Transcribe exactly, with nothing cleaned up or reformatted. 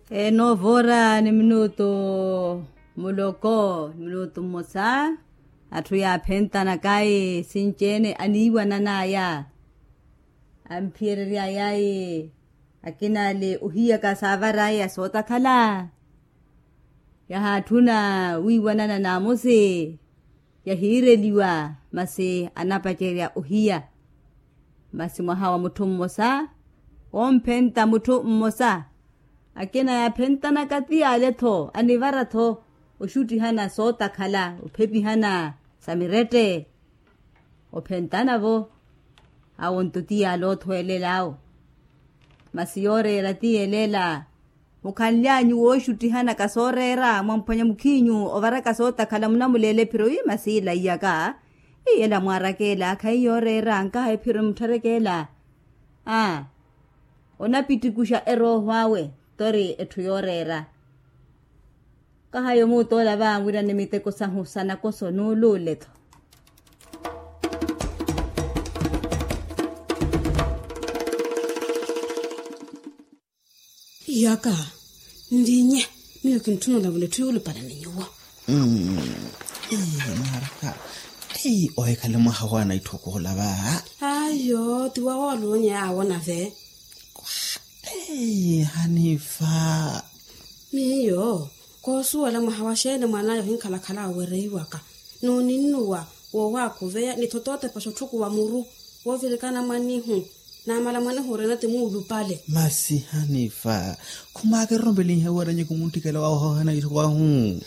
Enoovora ni minutu muloko ni minutu mmosa. Atthu yaaphentanaka ayi sinci-ene aniiwanan'aya. Amphiyerery'aya ayi akina ale ohiyaka saavar'aya sootakhala. Yahaatthuna wiiwanana naamosi yahiireliwa masi anapacerya ohiya. Masi mwaha wa mutthu mmosa womphenta mutthu mmosa. Akina yaaphentanaka ti yaale-tho anivara-tho oxuttihana sootakhala ophepihana sa mirette. Ophentanavo awo nto ti yaale othwelela awo. Masi yooreera ti yelela. Mukhanly'anyu wooxuttihanaka sooreera mwamphwanya mukhiinyu ovaraka sootakhala munamuleela ephiro wi masi ilaiyaka. Iyela mwaarakeela khayi yooreera nkaha ephiro muttharekeela. Aa. Onapittikuxa erooho awe tori etthu yooreera. Kahayo muutoola vaawirani miteko sahu sa nakoso nuuluule-tho. Iyaka nlinye. Miyo kintthuna olavula etthu yuulupala ni nyuwo. Mwaraka. Ohikhale mwaha wa naitthokoola va. Ayo ti wawoolonye awo nave. Hanifa. Miyo koosuwela mwaha wa xeeni mwan'aya ohinkhalakhala awereiwaka. Nooninnuwa woowaakuveya ni thotootepa xotthukuwa muru woovirikana mwanihu. Naamala mwanihu orina ti muulupale. Masi hanifa. Khumaakererompelinhe weeranyi khumuntthikela wawe ohoohana itthoko ahu.